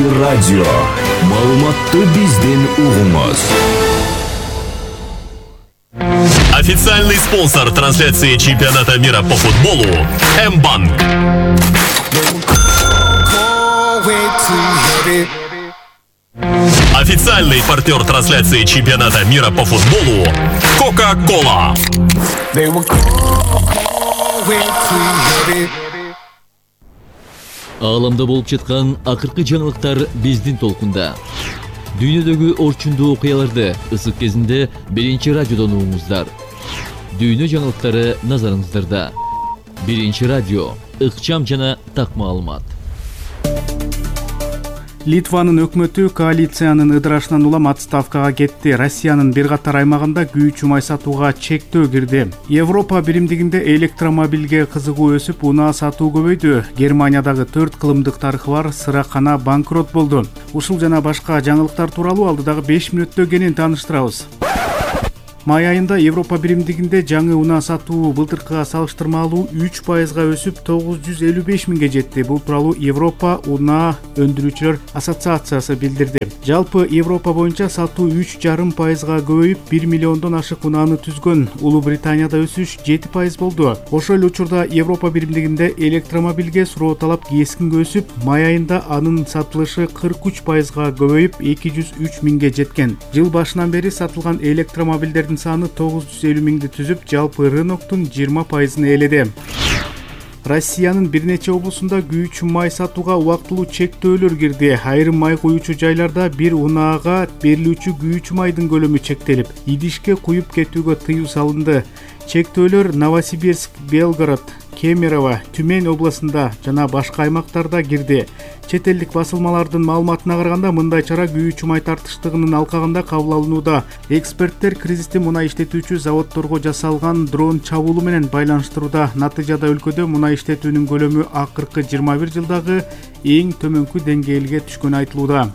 Радио. Маалыматты бизден угуңуз. Официальный спонсор трансляции чемпионата мира по футболу М-банк. Официальный партнер трансляции чемпионата мира по футболу Кока-Кола. Ааламда болуп жаткан акыркы жаңылыктар биздин толкунда. Дүйнөдөгү орчундуу окуяларды ысык кезинде биринчи радиодон угуңуздар. Дүйнө жаңылыктары назарыңыздарда. Биринчи радио, ыкчам жана так маалымат. Литванын өкмөтү коалициянын ыдырашынан улам отставкага кетти. Россиянын бир катар аймагында күйүүчү май сатууга чектөө кирди. Европа биримдигинде электромобилге кызыгуу өсүп, унаа сатуу көбөйдү. Германиядагы 4 кылымдык тарыхы бар сыракана банкрот болду. Ушул жана башка жаңылыктар тууралуу алдыдагы 5 мүнөттө кенен тааныштырабыз. Май айында Европа биримдигинде жаңы унаа сатуу былтыркыга салыштырмалуу 3%га өсүп 955 миңге жетти. Бул тууралуу Европа унаа өндүрүүчүлөр ассоциациясы билдирди. Жалпы Европа боюнча сатуу 3,5%га көбөйүп 1 миллиондон ашык унааны түзгөн. Улуу Британияда өсүш 7% болду. Ошол эле учурда Европа биримдигинде электромобилге суроо талап кескин өсүп, май айында анын сатылышы 43%га көбөйүп 203 миңге жеткен. Жыл башынан бери сатылган электромобилдердин саны 950 миңди түзүп, жалпы рыноктун 20%-ын ээледи. Россиянын бир нече облусунда күйүүчү май сатууга убактылуу чектөөлөр кирди. Айрым май куюучу жайларда бир унаага берилүүчү күйүүчү майдын көлөмү чектелип, идишке куюп кетүүгө тыюу салынды. Чектөөлөр Новосибирск, Белгород, Кемерово, Түмен областында жана башка аймактарда кирди. Чет элдик басылмалардын маалыматына караганда, мындай чара күйүүчү май тартыштыгынын алкагында кабыл алынууда. Эксперттер кризисти мунай иштетүүчү заводдорго жасалган дрон чабуулу менен байланыштырууда. Натыйжада өлкөдө мунай иштетүүнүн көлөмү акыркы 21 жылдагы эң төмөнкү деңгээлге түшкөнү айтылууда.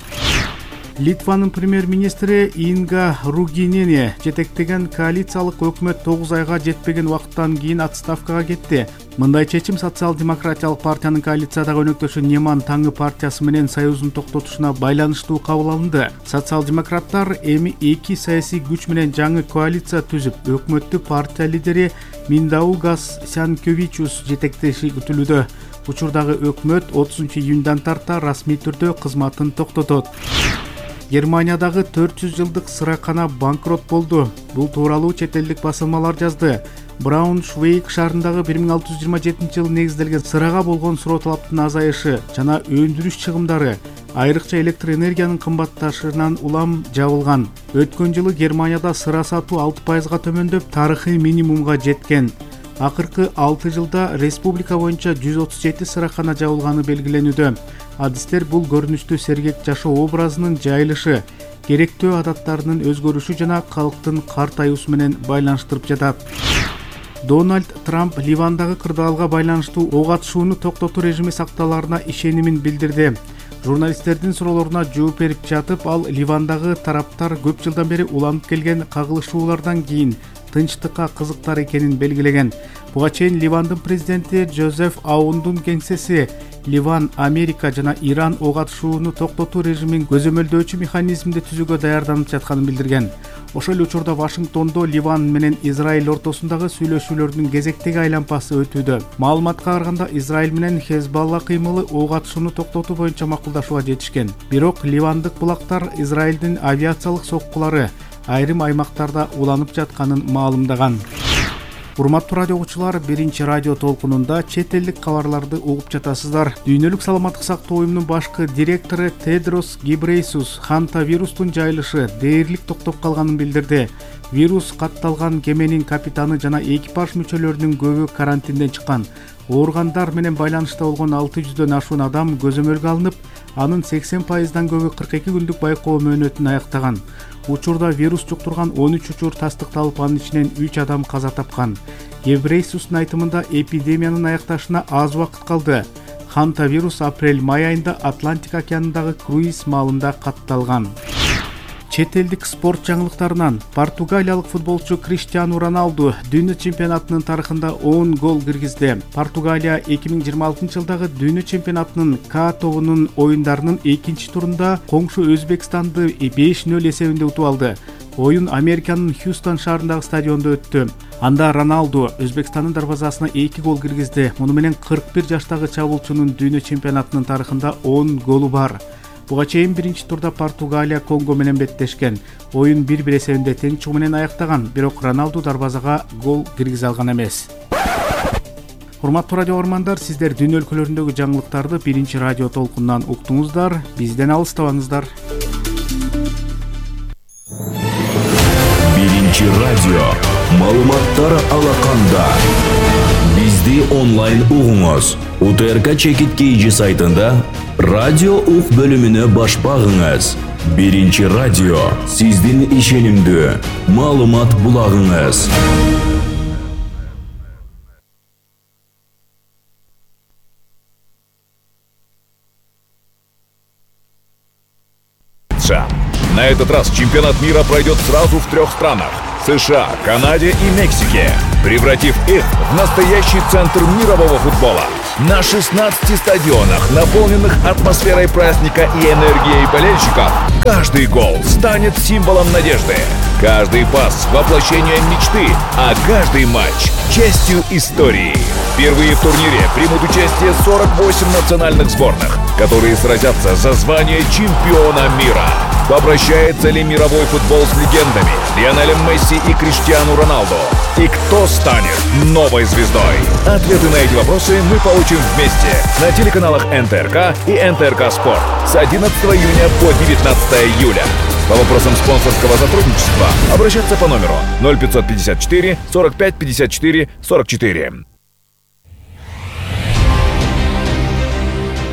Литванын премьер-министри Инга Ругинени жетектеген коалициялык өкмөт 9 айга жетпеген убакыттан кийин отставкага кетти. Мындай чечим социал-демократиялык партиянын коалициядагы өнөктөшү Неман таңы партиясы менен союзун токтотушуна байланыштуу кабыл алынды. Социал-демократтар эми 2 саясий күч менен жаңы коалиция түзүп, өкмөттү партия лидери Миндаугас Сянкевичус жетектеши күтүлүүдө. Учурдагы өкмөт 30-июндан тарта расмий түрдө кызматын токтотот. Германиядагы 400 жылдык сыракана банкрот болду. Бул тууралуу чет элдик басылмалар жазды. Брауншвейг шаарындагы 1627 жылы негизделген сырага болгон суроо талаптын азайышы жана өндүрүш чыгымдары, айрыкча электр энергиянын кымбатташынан улам жабылган. Өткөн жылы Германияда сыра сатуу 6%га төмөндөп, тарыхый минимумга жеткен. Акыркы 6 жылда республика боюнча 137 сыракана жабылганы белгиленүүдө. Адистер бул көрүнүштү сергек жашоо образынын жайылышы, керектөө адаттарынын өзгөрүшү жана калктын картаюусу менен байланыштырып жатат. Дональд Трамп Ливандагы кырдаалга байланыштуу ок атышууну токтотуу режими сакталаарына ишенимин билдирди. Журналисттердин суроолоруна жооп берип жатып, ал Ливандагы тараптар көп жылдан бери уланып келген кагылышуулардан кийин тынчтыкка кызыктар экенин белгилеген. Буга чейин Ливандын президенти Жозеф Аундун кеңсеси Ливан, Америка жана Иран ок атышууну токтотуу режимин көзөмөлдөөчү механизмди түзүүгө даярданып жатканын билдирген. Ошол эле учурда Вашингтондо Ливан менен Израиль ортосундагы сүйлөшүүлөрдүн кезектеги айланпасы өтүүдө. Маалыматка караганда, Израиль менен Хезбалла кыймылы ок атышууну токтотуу боюнча макулдашууга жетишкен. Бирок ливандык булактар Израилдин авиациялык соккулары айрым аймактарда уланып жатканын маалымдаган. Урматтуу радио угуучулар, биринчи радио толкунунда чет элдик кабарларды угуп жатасыздар. Дүйнөлүк саламаттык сактоо уюмунун башкы директору Тедрос Гебрейсус Ханта вирустун жайылышы дээрлик токтоп калганын билдирди. Вирус катталган кеменин капитаны жана экипаж мүчөлөрүнүн көбү карантинден чыккан. Ооругандар менен байланышта болгон 600дөн ашуун адам көзөмөлгө алынып, анын 80%дан көбү 42 күндүк байкоо мөөнөтүн аяктаган. Учурда вирус жуктурган 13 учур тастыкталып, анын ичинен 3 адам каза тапкан. Гебрейсустун айтымында эпидемиянын аякташына аз убакыт калды. Ханта вирус апрель-май айында Атлантик океанындагы круиз маалында катталган. Чет элдик спорт жаңылыктарынан португалиялык футболчу Криштиану Роналду дүйнө чемпионатынын тарыхында 10 гол киргизди. Португалия 2026 жылдагы дүйнө чемпионатынын К тобунун оюндарынын экинчи турунда коңшу Өзбекстанды 5-0 эсебинде утуп алды. Оюн Американын Хьюстон шаарындагы стадиондо өттү. Анда Роналду Өзбекстандын дарбазасына 2 гол киргизди. Муну менен 41 жаштагы чабуулчунун дүйнө чемпионатынын тарыхында 10 голу бар. Буга чейин биринчи турда Португалия Конго менен беттешкен. Оюн 1-1 эсебинде тең чыгуу менен аяктаган, бирок Роналду дарбазага гол киргизе алган эмес. Урматтуу радио көрөрмандар, сиздер дүйнө өлкөлөрүндөгү жаңылыктарды биринчи радио толкунунан уктуңуздар. Бизден алыстабаңыздар. Биринчи радио маалыматтар алаканда. Бизди онлайн угуңуз. УТРК Чекит KG сайтында радио ук бөлүмүнө баш багыңыз. Биринчи радио сиздин ишенимдүү маалымат булагыңыз. На этот раз чемпионат мира пройдет сразу в 3 странах – США, Канаде и Мексике, превратив их в настоящий центр мирового футбола. На 16 стадионах, наполненных атмосферой праздника и энергией болельщиков, каждый гол станет символом надежды. Каждый пас – воплощение мечты, а каждый матч – частью истории. Впервые в турнире примут участие 48 национальных сборных, которые сразятся за звание чемпиона мира. Попрощается ли мировой футбол с легендами Лионелем Месси и Криштиану Роналду? И кто станет новой звездой? Ответы на эти вопросы мы получим вместе на телеканалах НТРК и НТРК Спорт с 11 июня по 19 июля. По вопросам спонсорского сотрудничества обращаться по номеру 0554 45 54 44.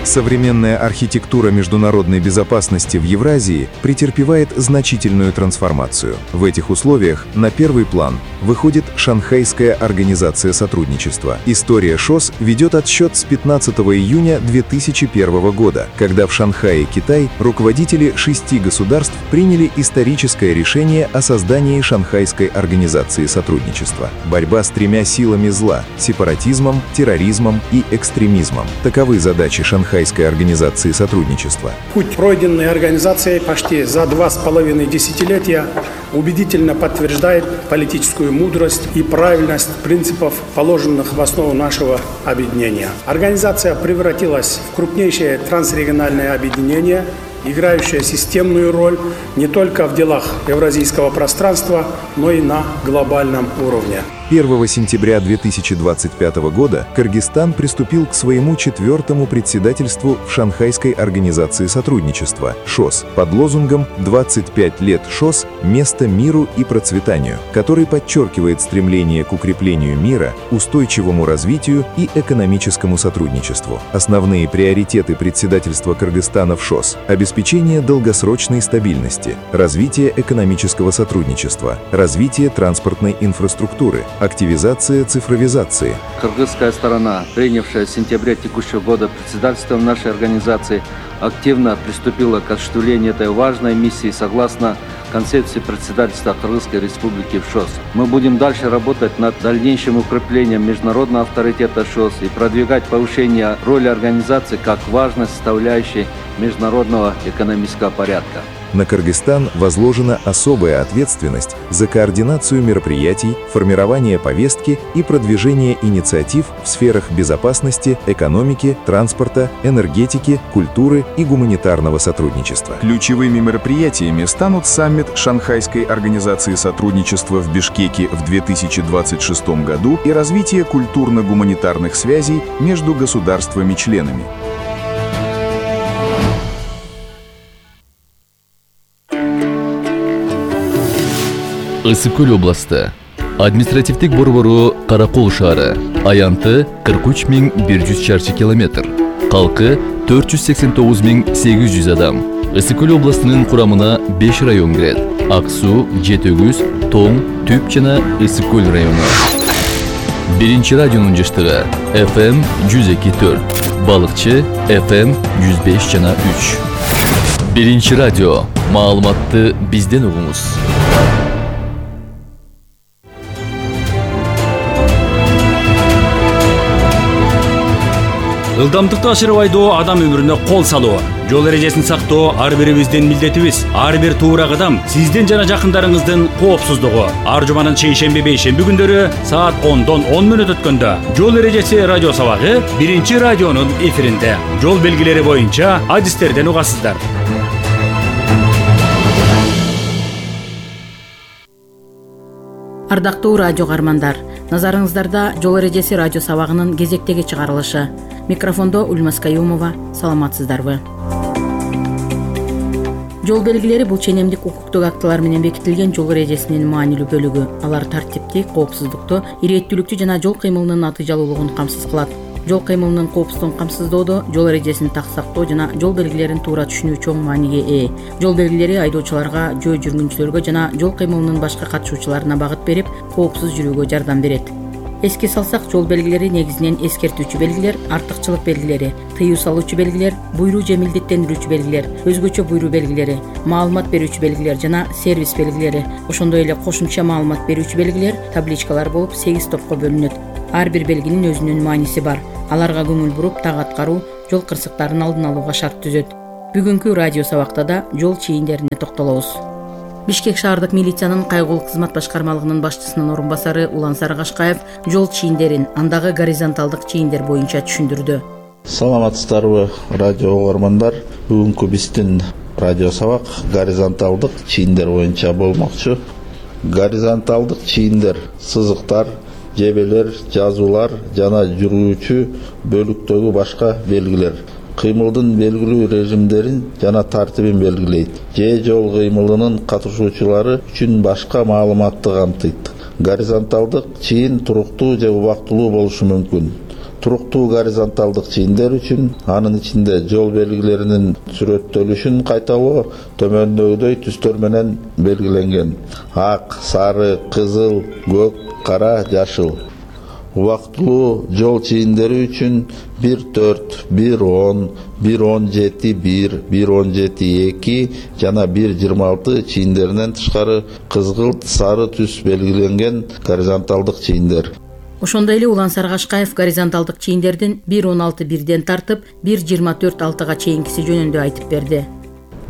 Современная архитектура международной безопасности в Евразии претерпевает значительную трансформацию. В этих условиях на первый план выходит Шанхайская организация сотрудничества. История ШОС ведет отсчет с 15 июня 2001 года, когда в Шанхае, Китай, руководители 6 государств приняли историческое решение о создании Шанхайской организации сотрудничества. Борьба с 3 силами зла – сепаратизмом, терроризмом и экстремизмом. Таковы задачи Шанхайской организации сотрудничества. Путь, пройденный организацией почти за 2,5 десятилетия, убедительно подтверждает политическую мудрость и правильность принципов, положенных в основу нашего объединения. Организация превратилась в крупнейшее трансрегиональное объединение, играющее системную роль не только в делах евразийского пространства, но и на глобальном уровне. 1 сентября 2025 года Кыргызстан приступил к своему 4-му председательству в Шанхайской организации сотрудничества ШОС под лозунгом «25 лет ШОС. Место миру и процветанию», который подчеркивает стремление к укреплению мира, устойчивому развитию и экономическому сотрудничеству. Основные приоритеты председательства Кыргызстана в ШОС – обеспечение долгосрочной стабильности, развитие экономического сотрудничества, развитие транспортной инфраструктуры, активизация цифровизации. Кыргызская сторона, принявшая в сентябре текущего года председательство нашей организации, активно приступила к осуществлению этой важной миссии согласно концепции председательства Кыргызской Республики в ШОС. Мы будем дальше работать над дальнейшим укреплением международного авторитета ШОС и продвигать повышение роли организации как важной составляющей международного экономического порядка. На Кыргызстан возложена особая ответственность за координацию мероприятий, формирование повестки и продвижение инициатив в сферах безопасности, экономики, транспорта, энергетики, культуры и гуманитарного сотрудничества. Ключевыми мероприятиями станут саммит Шанхайской организации сотрудничества в Бишкеке в 2026 году и развитие культурно-гуманитарных связей между государствами-членами. Ысык Көл областы. Административдик борбору Каракол шаары. Аянты 43.100 чарчы километр. Калкы 489.800 адам. Ысык Көл областынын курамына 5 район кирет. Ак Суу, Жетөгүз, Тоң, Түп жана Ысык Көл району. Биринчи радионун жыштыгы FM 102.4, Балыкчы FM 105 жана 3. Биринчи радио. Маалыматты бизден угуңуз. Ылдамдыкты ашырып айдоо адам өмүрүнө кол салуу. Жол эрежесин сактоо ар бирибиздин милдетибиз. Ар бир туура кадам сиздин жана жакындарыңыздын коопсуздугу. Ар жуманын шейшемби бейшемби күндөрү саат 10-дон 10 мүнөт өткөндө жол эрежеси радио сабагы биринчи радионун эфиринде. Жол белгилери боюнча адистерден угасыздар. Ардактуу радио каармандар, назарыңыздарда жол эрежеси радио сабагынын кезектеги чыгарылышы. Микрофондо Ульмас Каюмова. Саламатсыздарбы? Жол белгилери бул ченемдик укуктук актылар менен бекитилген жол эрежесинин маанилүү бөлүгү. Алар тартипти, коопсуздукту, ирээттүүлүктү жана жол кыймылынын натыйжалуулугун камсыз кылат. Жол кыймылынын коопсуздугун камсыздоодо жол эрежесин так сактоо жана жол белгилерин туура түшүнүү чоң мааниге ээ. Жол белгилери айдоочуларга, жөө жүргүнчүлөргө жана жол кыймылынын башка катышуучуларына багыт берип, коопсуз жүрүүгө жардам берет. Эске салсак, жол белгилери негизинен эскертүүчү белгилер, артыкчылык белгилери, тыюу салуучу белгилер, буйруу же милдеттендирүүчү белгилер, өзгөчө буйруу белгилери, маалымат берүүчү белгилер жана сервис белгилери, ошондой эле кошумча маалымат берүүчү белгилер, табличкалар болуп 8 топко бөлүнөт. Ар бир белгинин өзүнүн мааниси бар. Аларга көңүл буруп, так аткаруу жол кырсыктарын алдын алууга шарт түзөт. Бүгүнкү радио сабакта да жол чийиндерине токтолобуз. Бишкек шаардык милициянын кайгылуу кызмат башкармалыгынын башчысынын орун басары Улан Сарыгашкаев жол чийиндерин, андагы горизонталдык чийиндер боюнча түшүндүрдү. Саламатсыздарбы, радио угармандар. Бүгүнкү биздин радио сабак горизонталдык чийиндер боюнча болмокчу. Горизонталдык чийиндер сызыктар, жебелер, жазуулар жана жүрүүчү бөлүктөгү башка белгилер. Кыймылдын белгилүү режимдерин жана тартибин белгилейт. Же жол кыймылынын катышуучулары үчүн башка маалыматты камтыйт. Горизонталдык чийин туруктуу же убактылуу болушу мүмкүн. Туруктуу горизонталдык чийиндер үчүн анын ичинде жол белгилеринин сүрөттөлүшүн кайталоо төмөндөгүдөй түстөр менен белгиленген: ак, сары, кызыл, көк, кара, жашыл. Убактылуу жол чийиндери үчүн 1-4, 1-10, 1-17-1, 1-17-2 жана 1-26 чийиндеринен тышкары кызгылт, сары түс белгиленген горизонталдык чийиндер. Ошондой эле Улан Сарыгашкаев горизонталдык чийиндердин 1-16-1ден тартып 1-24-6 чейинкиси жөнүндө айтып берди.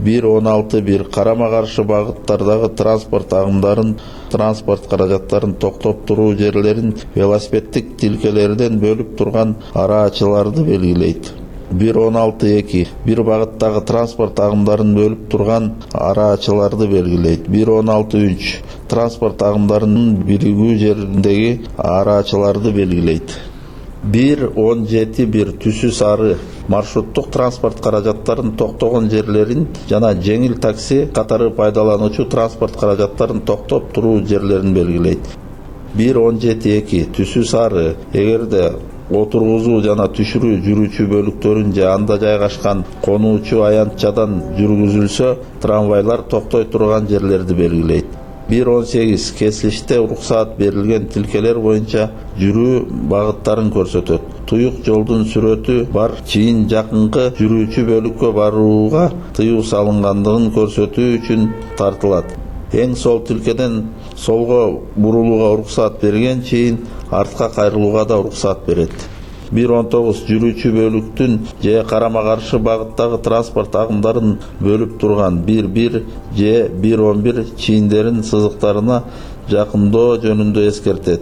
1-16-1 карама каршы багыттардагы транспорт агымдарын, транспорт каражаттарын токтоп туруу жерлерин велосипеддик тилкелерден бөлүп турган араачыларды белгилейт. 1-16-2 бир багыттагы транспорт агымдарын бөлүп турган араачыларды белгилейт. 1-16-3 транспорт агымдарынын биригүү жериндеги араачыларды белгилейт. 1-17-1 түсү сары маршруттук транспорт каражаттарын токтогон жерлерин жана жеңил такси катары пайдалануучу транспорт каражаттарын токтоп туруу жерлерин белгилейт. 1-17-2 түсү сары эгерде отургузуу жана түшүрүү жүрүүчү бөлүктөрүн же анда жайгашкан конуучу аянтчадан жүргүзүлсө, трамвайлар токтой турган жерлерди белгилейт. 1-18 кесилиште уруксаат берилген тилкелер боюнча жүрүү багыттарын көрсөтөт. Туюк жолдун сүрөтү бар чийин жакынкы жүрүүчү бөлүккө барууга тыюу салынгандыгын көрсөтүү үчүн тартылат. Эң сол тилкеден солго бурулууга уруксаат берген чейин артка кайрылууга да уруксаат берет. 1-19 жүрүүчү бөлүктүн же карама каршы багыттагы транспорт агымдарын бөлүп турган 1-1 же 1-11 чийиндерин сызыктарына жакындоо жөнүндө эскертет.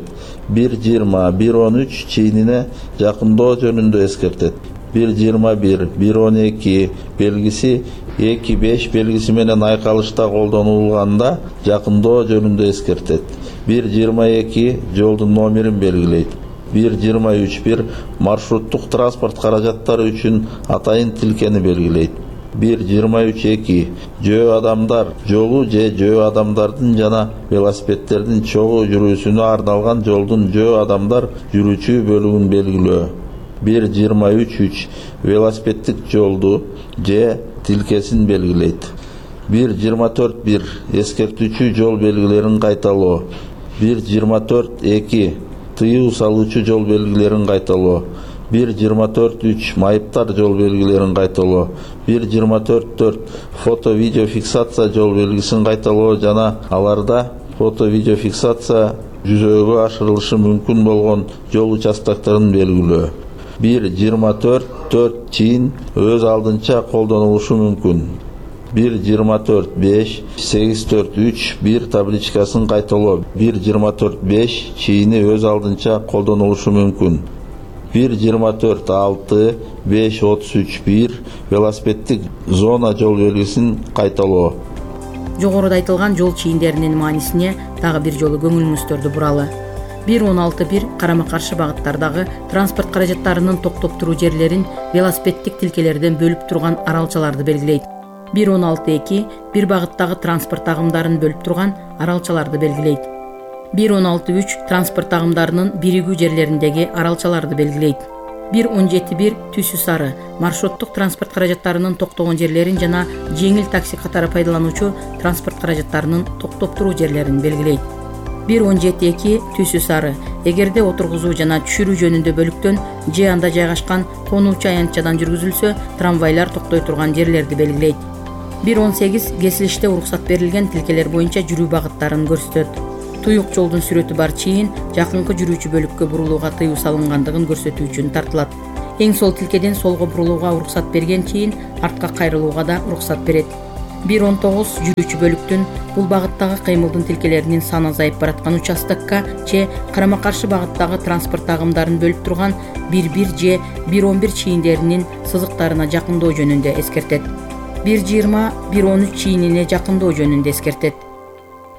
1-20 1-13 чийинине жакындоо жөнүндө эскертет. 1-21 1-12 белгиси 2-5 белгиси менен айкалышта колдонулганда жакындоо жөнүндө эскертет. 1-22 жолдун номерин белгилейт. 1-23 маршруттук транспорт каражаттары үчүн атайын тилкени белгилейт. 1-23-2 жөө адамдар жолу же жөө адамдардын жана велосипедтердин чогуу жүрүүсүнө арналган жолдун жөө адамдар жүрүүчү бөлүгүн белгилөө. 1-23-3 велосипеддик жолду же тилкесин белгилейт. 1-24-1 эскертүүчү жол белгилерин кайталоо. 1-24-2 тыюу салуучу жол белгилерин кайталоо. 1.24.3 майыптар жол белгилерин кайталоо, 1.24.4 фото видео фиксация жол белгисин кайталоо жана аларда фото видео фиксация жүзөгө ашырылышы мүмкүн болгон жол участокторун белгилөө. 1.24.4 чейин өз алдынча колдонулушу мүмкүн. 1.24.5 8.4.3 табличкасын кайталоо. 1.24.5 чейини өз алдынча колдонулушу мүмкүн. 1.24.6 5.33.1 велосипеддик зона жол белгисин кайталоо. Жогоруда айтылган жол чийиндеринин маанисине дагы бир жолу көңүлүңүздөрдү буралы. 1.16.1 карама-каршы багыттардагы транспорт каражаттарынын токтоп туруу жерлерин велосипеддик тилкелерден бөлүп турган аралчаларды белгилейт. 1.16.2 бир багыттагы транспорт агымдарын бөлүп турган аралчаларды белгилейт. 1.16.3 транспорт агымдарынын биригүү жерлериндеги аралчаларды белгилейт. 1.17.1 түсү сары маршруттук транспорт каражаттарынын токтогон жерлерин жана жеңил такси катары пайдалануучу транспорт каражаттарынын токтоп туруу жерлерин белгилейт. 1.17.2 түсү сары эгерде отургузуу жана түшүрүү жөнүндө бөлүктөн же анда жайгашкан конуучу аянтчадан жүргүзүлсө трамвайлар токтой турган жерлерди белгилейт. 1.18 кесилиште уруксат берилген тилкелер боюнча жүрүү багыттарын көрсөтөт. Туюк жолдун сүрөтү бар чейин жакынкы жүрүүчү бөлүккө бурулууга тыюу салынгандыгын көрсөтүү үчүн тартылат. Эң сол тилкеден солго бурулууга уруксат берген чейин артка кайрылууга да уруксат берет. 1.19 жүрүүчү бөлүктүн бул багыттагы кыймылдын тилкелеринин саны азайып бараткан участокко же карама-каршы багыттагы транспорт агымдарын бөлүп турган 1.1 же 1.11 чийиндеринин сызыктарына жакындоо жөнүндө эскертет. 1.20 1.13 чийинине жакындоо жөнүндө эскертет.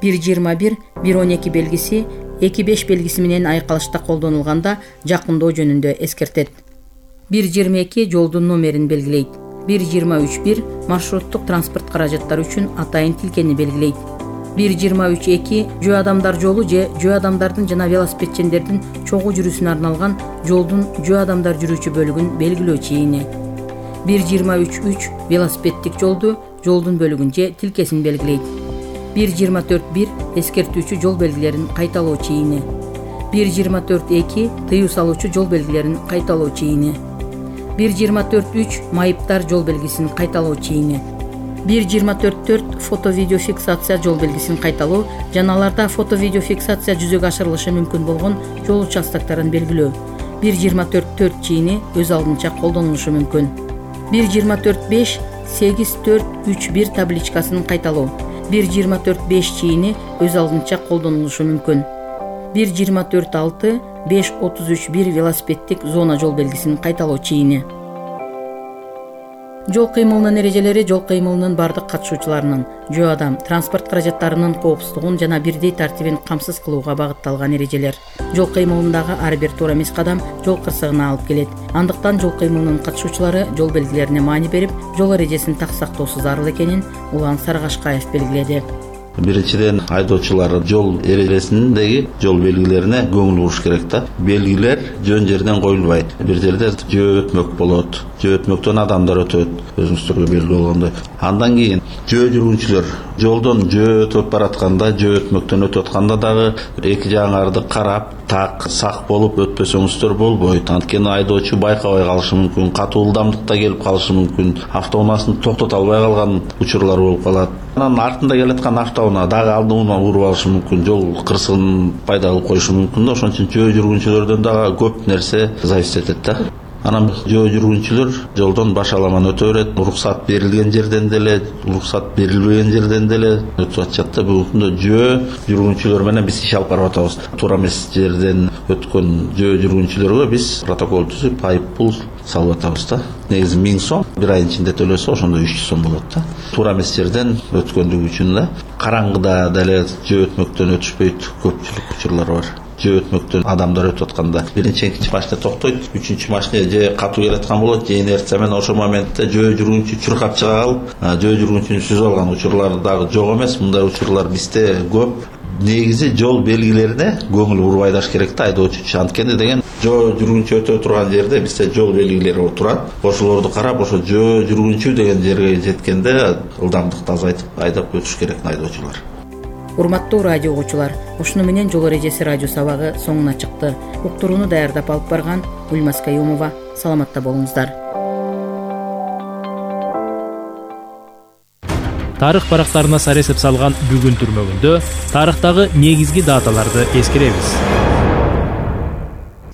1.21 1.12 белгиси 2.5 белгиси менен айкалышта колдонулганда жакындоо жөнүндө эскертет. 1.22 жолдун номерин белгилейт. 1.23.1 маршруттук транспорт каражаттары үчүн атайын тилкени белгилейт. 1.23.2 жөө адамдар жолу же жөө адамдардын жана велосипедчендердин чогуу жүрүүсүнө арналган жолдун жөө адамдар жүрүүчү бөлүгүн белгилөө чийини. 1.23.3 велосипеддик жолдун бөлүгүн же тилкесин белгилейт. 1.24.1 эскертүүчү жол белгилерин кайталоо чийини. 1.24.2 тыюу салуучу жол белгилерин кайталоо чийини. 1.24.3 майыптар жол белгисин кайталоо чийини. 1.24.4 фото-видео фиксация жол белгисин кайталоо жана аларда фото-видео фиксация жүзөгө ашырылышы мүмкүн болгон жол участокторун белгилөө. 1.24.4 чийини өз алдынча колдонулушу мүмкүн. 1.24.5 8.4.3.1 табличкасын кайталоо. 1.24.5 чийини өз алдынча колдонулушу мүмкүн. 1.24.6 5.33.1 велосипеддик зона жол белгисин кайталоо чийини. Жол кыймылынын эрежелери жол кыймылынын бардык катышуучуларынын жөө адам транспорт каражаттарынын коопсуздугун жана бирдей тартибин камсыз кылууга багытталган эрежелер. Жол кыймылындагы ар бир туура эмес кадам жол кырсыгына алып келет. Андыктан жол кыймылынын катышуучулары жол белгилерине маани берип, жол эрежесин так сактоосу зарыл экенин Улан Сарыгашкаев белгиледи. Биринчиден айдоочулар жол эрежесиндеги жол белгилерине көңүл буруш керек да. Белгилер жөн жерден коюлбайт. Бир жерде жөө өтмөк болот. Жөө өтмөктөн адамдар өтөт. Өзүңүздөргө белгилүү болгондой. Андан кийин жөө жүргүнчүлөр жолдон жөө өтүп баратканда, жөө өтмөктөн өтүп атканда дагы эки жагыңарды карап, так сак болуп өтпөсөңүздөр болбойт. Анткени айдоочу байкабай калышы мүмкүн, катуу ылдамдыкта келип калышы мүмкүн. Автоунаасын токтото албай калган учурлар болуп калат. Анан артында келаткан автоунаа дагы алдына уруп алышы мүмкүн, жол кырсыгын пайда кылып коюшу мүмкүн да. Ошон үчүн жөө жүргүнчүлөрдөн дагы көп нерсе зависит этет да. Анан жөө жүргүнчүлөр жолдон башаламан өтө берет. Уруксат берилген жерден деле, уруксат берилбеген жерден деле өтүп атышат да. Бүгүнкү күндө жөө жүргүнчүлөр менен биз иш алып барып атабыз. Туура эмес жерден өткөн жөө жүргүнчүлөргө биз протокол түзүп, айып пул салып атабыз да. Негизи 1000 сом, бир айдын ичинде төлөсө ошондо 300 сом болот да. Туура эмес жерден өткөндүгү үчүн да. Караңгыда деле жөө өтмөктөн өтүшпөйт, көпчүлүк учурлар бар. Жөө өтмөктөн адамдар өтүп атканда биринчи экинчи машина токтойт, үчүнчү машина же катуу келаткан болот, же инерция менен ошол моментте жөө жүргүнчү чуркап чыга калып, жөө жүргүнчүнү сүзүп алган учурлар дагы жок эмес. Мындай учурлар бизде көп. Негизи жол белгилерине көңүл буруп айдаш керек да айдоочу. Анткени деген жөө жүргүнчү өтө турган жерде бизде жол белгилери турат. Ошолорду карап, ошо жөө жүргүнчү деген жерге жеткенде ылдамдыкты азайтып айдап өтүш керек айдоочулар. Урматтуу радио угуучулар, ушуну менен жол эрежеси радио сабагы соңуна чыкты. Уктурууну даярдап алып барган Гүлмаз Каюмова. Саламатта болуңуздар. Тарых барактарына саресеп салган бүгүн түрмөгүндө тарыхтагы негизги даталарды эскеребиз.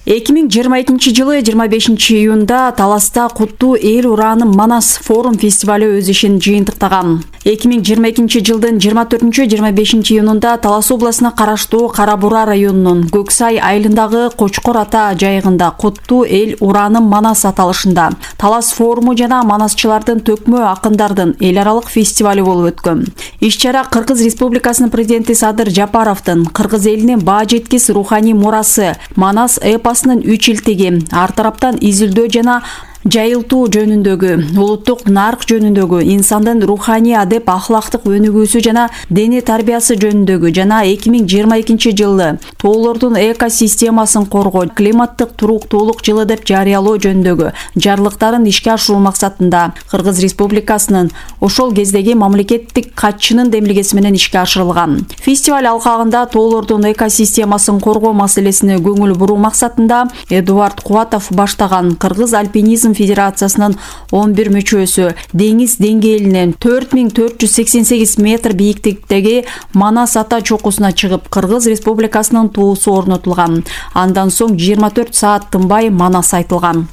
2022 жылы 25 июнда Таласта Куттуу эл урааны Манас форум фестивалю өз ишин жыйынтыктаган. 2022 жылдын 24-25 июнунда Талас областына караштуу Кара Бура районунун Көксай айылындагы Кочкор ата жайыгында Куттуу эл урааны Манас аталышында Талас форуму жана манасчылардын төкмө акындардын эл аралык фестивалю болуп өткөн. Иш-чара Кыргыз Республикасынын президенти Садыр Жапаровдун Кыргыз элинин баа жеткис руханий мурасы Манас эпосунун 3 илтиги, ар тараптан изилдөө жана жайылтуу жөнүндөгү, улуттук нарк жөнүндөгү, инсандын руханий адеп ахлактык өнүгүүсү жана дене тарбиясы жөнүндөгү жана 2022 жылы тоолордун экосистемасын коргоо, климаттык туруктуулук жылы деп жарыялоо жөнүндөгү жарлыктарын ишке ашыруу максатында Кыргыз Республикасынын ошол кездеги мамлекеттик катчынын демилгеси менен ишке ашырылган. Фестиваль алкагында тоолордун экосистемасын коргоо маселесине көңүл буруу максатында Эдуард Кубатов баштаган Кыргыз альпинизм Федерациясынын 11 мүчөсү деңиз деңгээлинен 4488 метр бийиктиктеги Манас ата чокусуна чыгып, Кыргыз Республикасынын туусу орнотулган. Андан соң 24 саат тынбай Манас айтылган.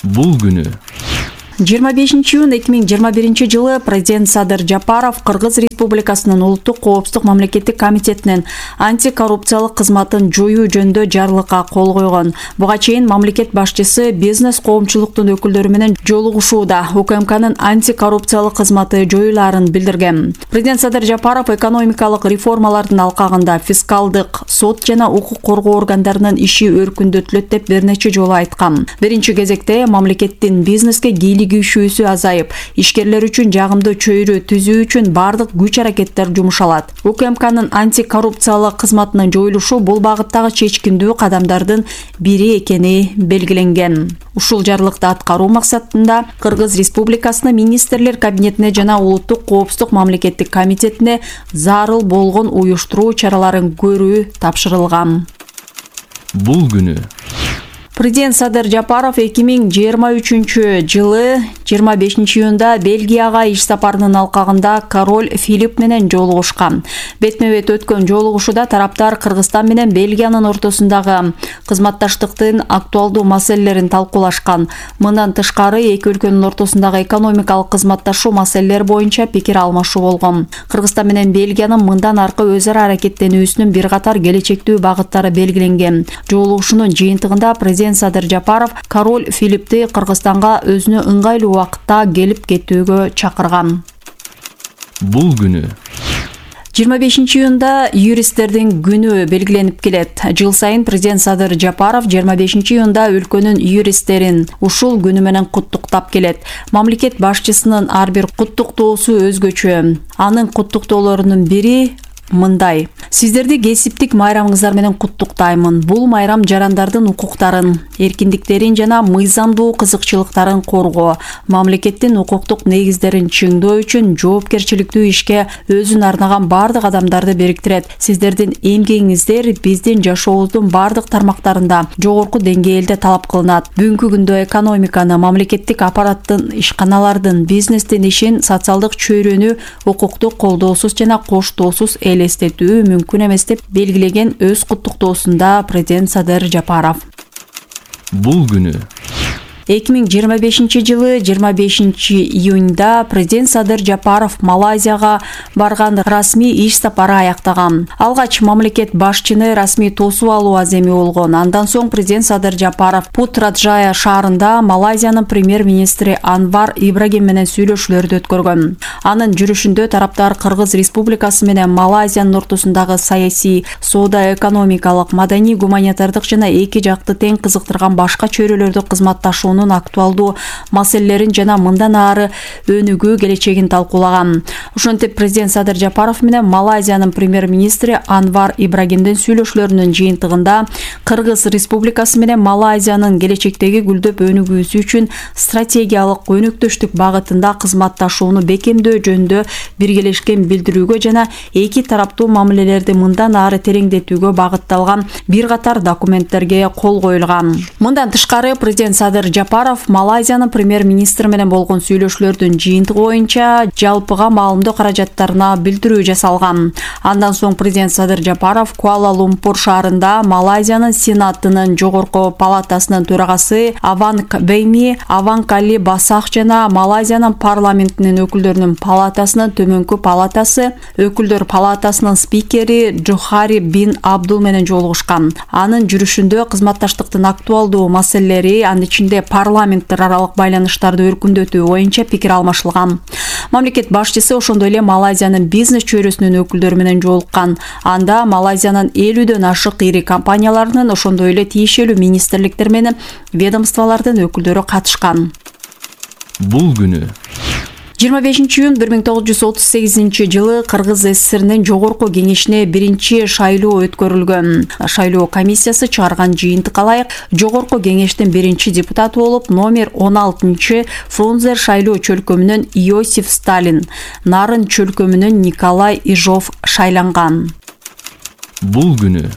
Бул күнү 25 июнь 2021 жылы президент Садыр Жапаров Кыргыз Республикасынын улуттук коопсуздук мамлекеттик комитетинин антикоррупциялык кызматын жоюу жөнүндө жарлыкка кол койгон. Буга чейин мамлекет башчысы бизнес коомчулуктун өкүлдөрү менен жолугушууда УКМКнын антикоррупциялык кызматы жоюлаарын билдирген. Президент Садыр Жапаров экономикалык реформалардын алкагында фискалдык, сот жана укук коргоо органдарынын иши өркүндөтүлөт деп бир нече жолу айткан. Биринчи кезекте мамлекеттин бизнеске кийлигишүүсү азайып, ишкерлер үчүн жагымдуу чөйрө түзүү үчүн бардык күч-аракеттер жумшалат. УКМКнын антикоррупциялык кызматынын жоюлушу бул багыттагы чечкиндүү кадамдардын бири экени белгиленген. Ушул жарлыкты аткаруу максатында Кыргыз Республикасынын министрлер кабинетине жана улуттук коопсуздук мамлекеттик комитетине зарыл болгон уюштуруу чараларын көрүү тапшырылган. Бул күнү Президент Садыр Жапаров 2023 жылы 25 июнда Бельгияга иш сапарынын алкагында король Филипп менен жолугушкан. Бетме-бет өткөн жолугушууда тараптар Кыргызстан менен Бельгиянын ортосундагы кызматташтыктын актуалдуу маселелерин талкуулашкан. Мындан тышкары эки өлкөнүн ортосундагы экономикалык кызматташуу маселелери боюнча пикир алмашуу болгон. Кыргызстан менен Бельгиянын мындан аркы өз ара аракеттенүүсүнүн бир катар келечектүү багыттары белгиленген. Жолугушуунун жыйынтыгында президент Садыр Жапаров король Филиппти Кыргызстанга өзүнө ыңгайлуу убакытта келип кетүүгө чакырган. Бул күнү 25 июнда юристтердин күнү белгиленип келет. Жыл сайын президент Садыр Жапаров 25 июнда өлкөнүн юристтерин ушул күнү менен куттуктап келет. Мамлекет башчысынын ар бир куттуктоосу өзгөчө. Анын куттуктоолорунун бири мындай: сиздерди кесиптик майрамыңыздар менен куттуктаймын. Бул майрам жарандардын укуктарын, эркиндиктерин жана мыйзамдуу кызыкчылыктарын коргоо, мамлекеттин укуктук негиздерин чыңдоо үчүн жоопкерчиликтүү ишке өзүн арнаган бардык адамдарды бириктирет. Сиздердин эмгегиңиздер биздин жашообуздун бардык тармактарында жогорку деңгээлде талап кылынат. Бүгүнкү күндө экономиканы, мамлекеттик аппараттын, ишканалардын, бизнестин ишин социалдык чөйрөнү укуктук колдоосуз жана коштоосуз элестетүү мүмкүн эмес деп белгилеген өз куттуктоосунда президент Садыр Жапаров. Бул күнү 2025 жылы 25 июнда президент Садыр Жапаров Малайзияга барган расмий иш сапары аяктаган. Алгач мамлекет башчыны расмий тосуп алуу аземи болгон. Андан соң президент Садыр Жапаров Путраджая шаарында Малайзиянын премьер-министри Анвар Ибрагим менен сүйлөшүүлөрдү өткөргөн. Анын жүрүшүндө тараптар Кыргыз Республикасы менен Малайзиянын ортосундагы саясий, соода-экономикалык, маданий, гуманитардык жана эки жакты тең кызыктырган башка чөйрөлөрдө кызматташуу жашоонун актуалдуу маселелерин жана мындан ары өнүгүү келечегин талкуулаган. Ошентип президент Садыр Жапаров менен Малайзиянын премьер-министри Анвар Ибрагимдин сүйлөшүүлөрүнүн жыйынтыгында Кыргыз Республикасы менен Малайзиянын келечектеги гүлдөп өнүгүүсү үчүн стратегиялык өнөктөштүк багытында кызматташууну бекемдөө жөнүндө биргелешкен билдирүүгө жана эки тараптуу мамилелерди мындан ары тереңдетүүгө багытталган бир катар документтерге кол коюлган. Мындан тышкары президент Садыр Жапаров Малайзиянын премьер-министри менен болгон сүйлөшүүлөрдүн жыйынтыгы боюнча жалпыга маалымдоо каражаттарына билдирүү жасалган. Андан соң президент Садыр Жапаров Куала-Лумпур шаарында Малайзиянын Сенатынын жогорку палатасынын төрагасы Аванг Бейми, Аванг Али Басах жана Малайзиянын парламентинин өкүлдөрүнүн палатасынын төмөнкү палатасы өкүлдөр палатасынын спикери Джохари бин Абдул менен жолугушкан. Анын жүрүшүндө кызматташтыктын актуалдуу маселелери, анын ичинде парламенттер аралык байланыштарды өркүндөтүү боюнча пикир алмашылган. Мамлекет башчысы ошондой эле Малайзиянын бизнес чөйрөсүнүн өкүлдөрү менен жолуккан. Анда Малайзиянын 50дөн ашык ири компанияларынын, ошондой эле тиешелүү министрликтер менен ведомстволордун өкүлдөрү катышкан. Бул күнү 25-июнь 1938 Кыргыз СССРнин жогорку кеңешине биринчи шайлоо өткөрүлгөн. Шайлоо комиссиясы чыгарган жыйынтыкка ылайык жогорку кеңештин биринчи депутаты болуп номер 16 Фрунзе шайлоо чөлкөмүнөн Иосиф Сталин, Нарын чөлкөмүнөн Николай Ижов шайланган. Бул күнү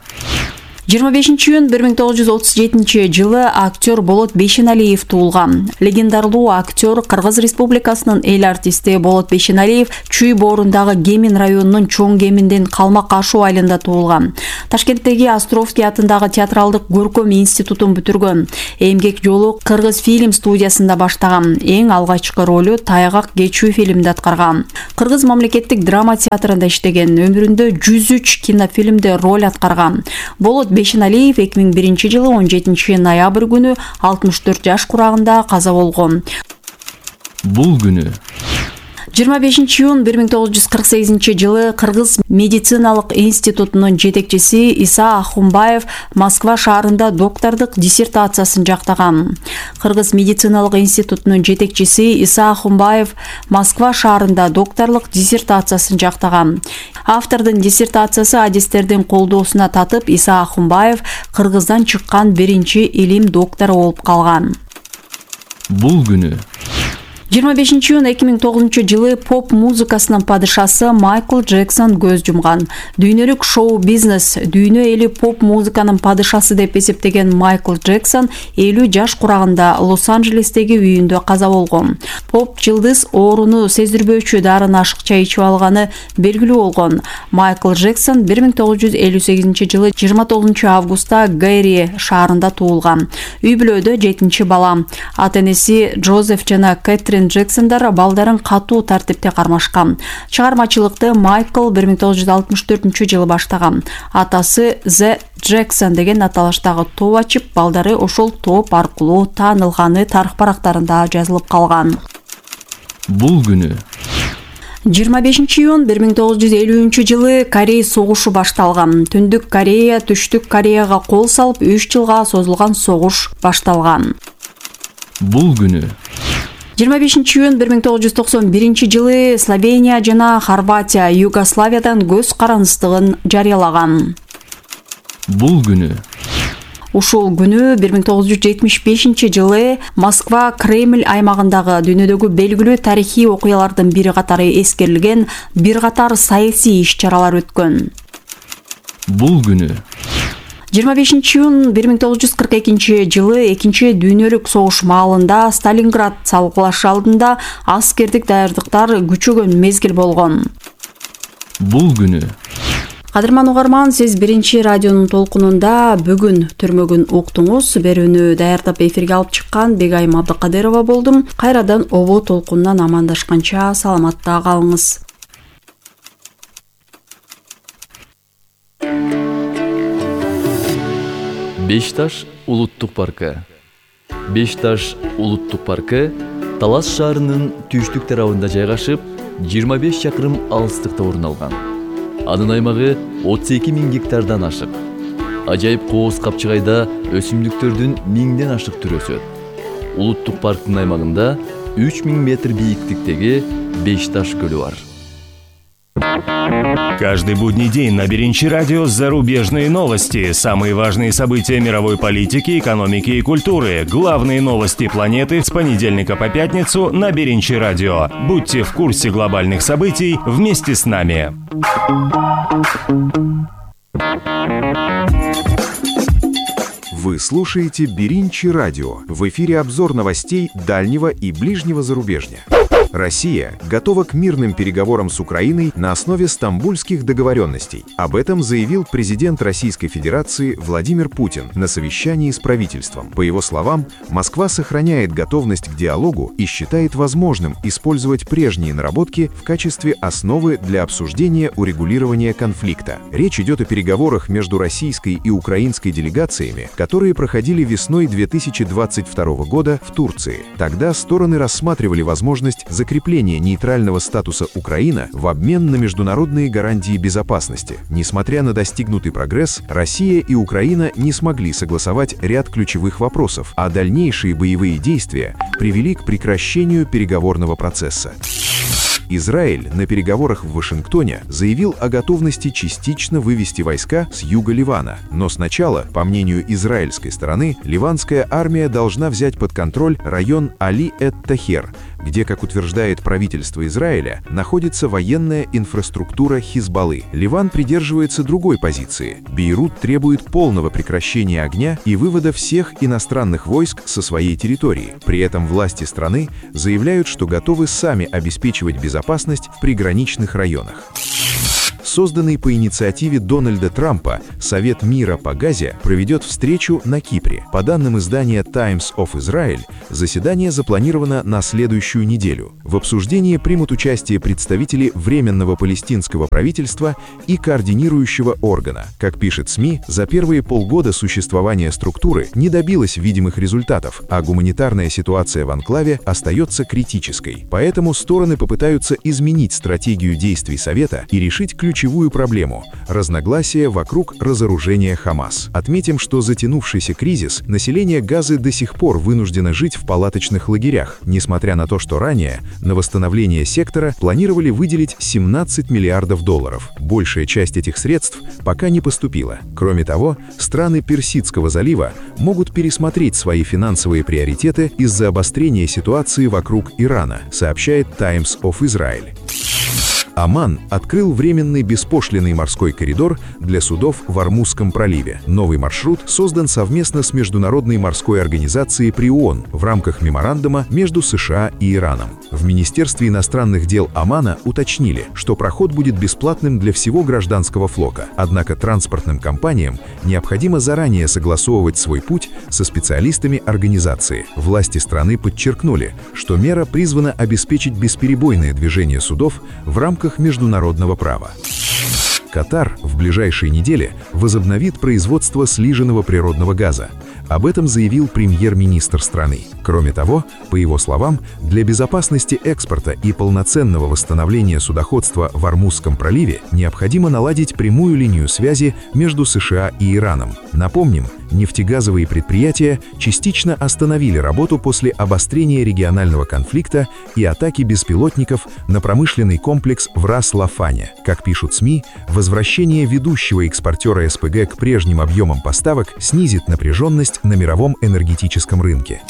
25-июнь 1937 актер Болот Бейшеналиев туулган. Легендарлуу актер Кыргыз Республикасынын эл артисти Болот Бейшеналиев Чүй боорундагы Кемин районунун Чоң Кеминдин Калмак Ашуу айылында туулган. Ташкенттеги Островский атындагы театралдык көркөм институтун бүтүргөн. Эмгек жолу Кыргыз фильм студиясында баштаган. Эң алгачкы ролу Тайгак кечүү фильминде аткарган. Кыргыз мамлекеттик драма театрында иштеген. Өмүрүндө 103 кинофильмде роль аткарган. Болот Бейшеналиев 2001-жылы 17 ноябрь күнү 64 жаш курагында каза болгон. Бул күнү 25-июнь 1948 Кыргыз медициналык институтунун жетекчиси Иса Ахунбаев Москва шаарында доктордук диссертациясын жактаган. Кыргыз медициналык институтунун жетекчиси Иса Ахунбаев Москва шаарында докторлук диссертациясын жактаган. Автордун диссертациясы адистердин колдоосуна татып, Иса Ахунбаев Кыргыздан чыккан биринчи илим доктору болуп калган. Бул күнү 25-июнь 2009 поп музыкасынын падышасы Майкл Джексон көз жумган. Дүйнөлүк шоу-бизнес дүйнө эли поп музыканын падышасы деп эсептеген Майкл Джексон 50 жаш курагында Лос-Анджелестеги үйүндө каза болгон. Поп жылдыз ооруну сездирбөөчү дарыны ашыкча ичип алганы белгилүү болгон. Майкл Джексон 1958 29 августта Гэри шаарында туулган. Үй бүлөдө 7-чи бала. Ата-энеси Джозеф жана Кэтрин Джексондар балдарын катуу тартипте кармашкан. Чыгармачылыкты Майкл 1964 баштаган. Атасы Зе Джексон деген аталыштагы топ ачып, балдары ошол топ аркылуу таанылганы тарых барактарында жазылып калган. Бул күнү 25-июнь 1950 Корей согушу башталган. Түндүк Корея Түштүк Кореяга кол салып 3 жылга созулган согуш башталган. Бул күнү 25-июнь 1991 Словения жана Хорватия Югославиядан көз карандыстыгын жарыялаган. Бул күнү Ушул күнү 1975 Москва Кремль аймагындагы дүйнөдөгү белгилүү тарыхый окуялардын бири катары эскерилген бир катар саясий иш-чаралар өткөн. Бул күнү 25-июнь 1942 экинчи дүйнөлүк согуш маалында Сталинград салгылашы алдында аскердик даярдыктар күчөгөн мезгил болгон. Бул күнү Кадырман угарман, сиз биринчи радионун толкунунда бүгүн түрмөгүн уктуңуз. Берүүнү даярдап эфирге алып чыккан Бегайым Абдыкадырова болдум. Кайрадан обо толкунунан амандашканча саламатта калыңыз. Бешташ улуттук паркы. Бешташ улуттук паркы Талас шаарынын түштүк тарабында жайгашып, 25 чакырым алыстыкта орун алган. Анын аймагы 32 000 гектардан ашык. Ажайып кооз капчыгайда өсүмдүктөрдүн 1000ден ашык түрү өсөт. улуттук парктын аймагында 3000 метр бийиктиктеги Бешташ көлү бар. Каждый будний день на Беренчи радио зарубежные новости, самые важные события мировой политики, экономики и культуры, главные новости планеты с понедельника по пятницу на Беренчи радио. Будьте в курсе глобальных событий вместе с нами. Вы слушаете Беренчи радио. В эфире обзор новостей дальнего и ближнего зарубежья. Россия готова к мирным переговорам с Украиной на основе стамбульских договоренностей. Об этом заявил президент Российской Федерации Владимир Путин на совещании с правительством. По его словам, Москва сохраняет готовность к диалогу и считает возможным использовать прежние наработки в качестве основы для обсуждения урегулирования конфликта. Речь идет о переговорах между российской и украинской делегациями, которые проходили весной 2022 года в Турции. Тогда стороны рассматривали возможность закрепления нейтрального статуса Украины в обмен на международные гарантии безопасности. Несмотря на достигнутый прогресс, Россия и Украина не смогли согласовать ряд ключевых вопросов, а дальнейшие боевые действия привели к прекращению переговорного процесса. Израиль на переговорах в Вашингтоне заявил о готовности частично вывести войска с юга Ливана. Но сначала, по мнению израильской стороны, ливанская армия должна взять под контроль район Али-эт-Тахер, где, как утверждает правительство Израиля, находится военная инфраструктура Хизбаллы. Ливан придерживается другой позиции. Бейрут требует полного прекращения огня и вывода всех иностранных войск со своей территории. При этом власти страны заявляют, что готовы сами обеспечивать безопасность в приграничных районах. Созданный по инициативе Дональда Трампа Совет мира по Газе проведет встречу на Кипре. По данным издания Times of Israel, заседание запланировано на следующую неделю. В обсуждении примут участие представители Временного палестинского правительства и координирующего органа. Как пишет СМИ, за первые полгода существования структуры не добилась видимых результатов, а гуманитарная ситуация в анклаве остается критической. Поэтому стороны попытаются изменить стратегию действий Совета и решить ключевую проблему – разногласия вокруг разоружения Хамас. Отметим, что затянувшийся кризис население Газы до сих пор вынуждено жить в палаточных лагерях, несмотря на то, что ранее на восстановление сектора планировали выделить $17 миллиардов. Большая часть этих средств пока не поступила. Кроме того, страны Персидского залива могут пересмотреть свои финансовые приоритеты из-за обострения ситуации вокруг Ирана, сообщает Times of Israel. Оман открыл временный беспошлинный морской коридор для судов в Ормузском проливе. Новый маршрут создан совместно с Международной морской организацией при ООН в рамках меморандума между США и Ираном. В Министерстве иностранных дел Омана уточнили, что проход будет бесплатным для всего гражданского флота. Однако транспортным компаниям необходимо заранее согласовывать свой путь со специалистами организации. Власти страны подчеркнули, что мера призвана обеспечить бесперебойное движение судов в рамках международного права. Катар в ближайшие недели возобновит производство слиженного природного газа. Об этом заявил премьер-министр страны. Кроме того, по его словам, для безопасности экспорта и полноценного восстановления судоходства в Ормузском проливе необходимо наладить прямую линию связи между США и Ираном. Напомним, нефтегазовые предприятия частично остановили работу после обострения регионального конфликта и атаки беспилотников на промышленный комплекс в Рас-Лафане. Как пишут СМИ, возвращение ведущего экспортера СПГ к прежним объемам поставок снизит напряженность на мировом энергетическом рынке.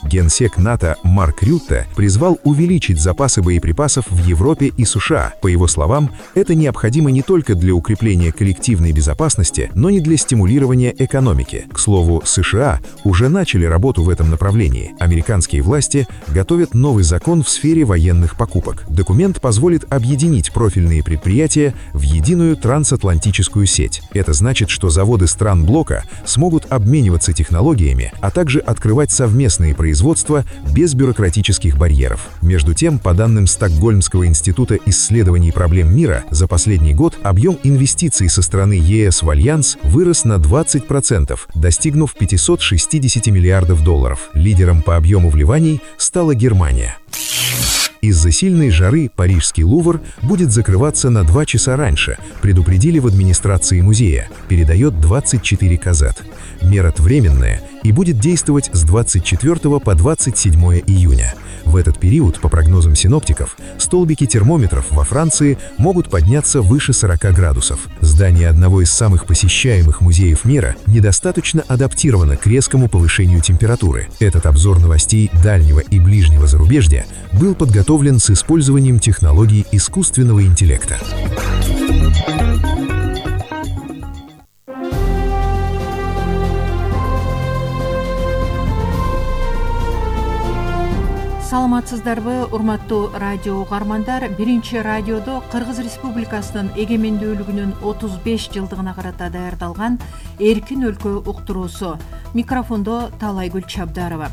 Генсек НАТО Марк Рютте призвал увеличить запасы боеприпасов в Европе и США. По его словам, это необходимо не только для укрепления коллективной безопасности, но и для стимулирования экономики. К слову, США уже начали работу в этом направлении. Американские власти готовят новый закон в сфере военных покупок. Документ позволит объединить профильные предприятия в единую трансатлантическую сеть. Это значит, что заводы стран блока смогут обмениваться технологиями, а также открывать совместные производства без бюрократических барьеров. Между тем, по данным Стокгольмского института исследований проблем мира, за последний год объем инвестиций со стороны ЕС в Альянс вырос на 20%, достигнув $560 миллиардов. Лидером по объему вливаний стала Германия. Из-за сильной жары Парижский Лувр будет закрываться на 2 часа раньше, предупредили в администрации музея, передает 24 Казат. Мера временная и будет действовать с 24 по 27 июня. В этот период, по прогнозам синоптиков, столбики термометров во Франции могут подняться выше 40 градусов. Здание одного из самых посещаемых музеев мира недостаточно адаптировано к резкому повышению температуры. Этот обзор новостей дальнего и ближнего зарубежья был подготовлен с использованием технологий искусственного интеллекта. Саламатсыздарбы, урматтуу радио угармандар. Биринчи радиодо Кыргыз Республикасынын эгемендүүлүгүнүн 35 жылдыгына карата даярдалган Эркин өлкө уктуруусу. Микрофондо Талайгүл Чабдарова.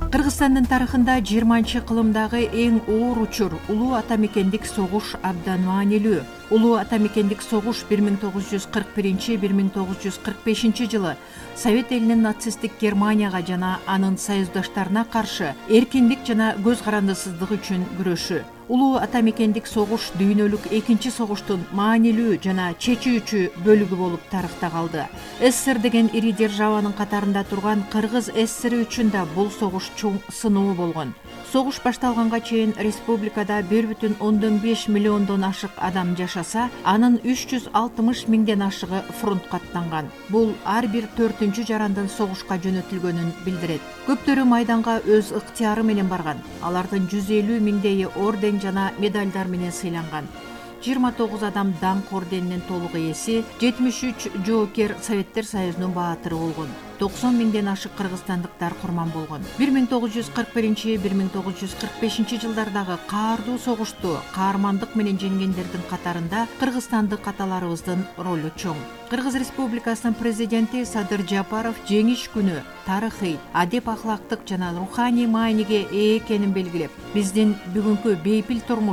Кыргызстандын тарыхында 20-кылымдагы эң оор учур улуу атамекендик согуш абдан маанилүү. Улуу атамекендик согуш 1941-1945 жылы Совет элинин нацисттик Германияга жана анын союздаштарына каршы эркиндик жана көз карандысыздык үчүн күрөшү. Улуу атамекендик согуш дүйнөлүк экинчи согуштун маанилүү жана чечүүчү бөлүгү болуп тарыхта калды. СССР деген ири державанын катарында турган Кыргыз СССР үчүн да бул согуш чоң сыноо болгон. Согуш башталганга чейин республикада 1,5 миллиондон ашык адам жашаса, анын 360 миңден ашыгы фронтко аттанган. Бул ар бир 4-чү жарандын согушка жөнөтүлгөнүн билдирет. Көптөрү майданга өз ыктыяры менен барган. Алардын 150 миңдейи орден жана медалдар менен сыйланган. 29 адам даңк орденинин толук ээси, 73 жоокер Советтер Союзунун баатыры болгон. 90 миңден ашык кыргызстандыктар курман болгон. 1941-1945 жылдардагы каардуу согушту каармандык менен жеңгендердин катарында кыргызстандык аталарыбыздын ролу чоң. Кыргыз Республикасынын президенти Садыр Жапаров жеңиш күнү тарыхый, адеп ахлактык жана руханий мааниге ээ экенин белгилеп, биздин бүгүнкү бейпил турмуш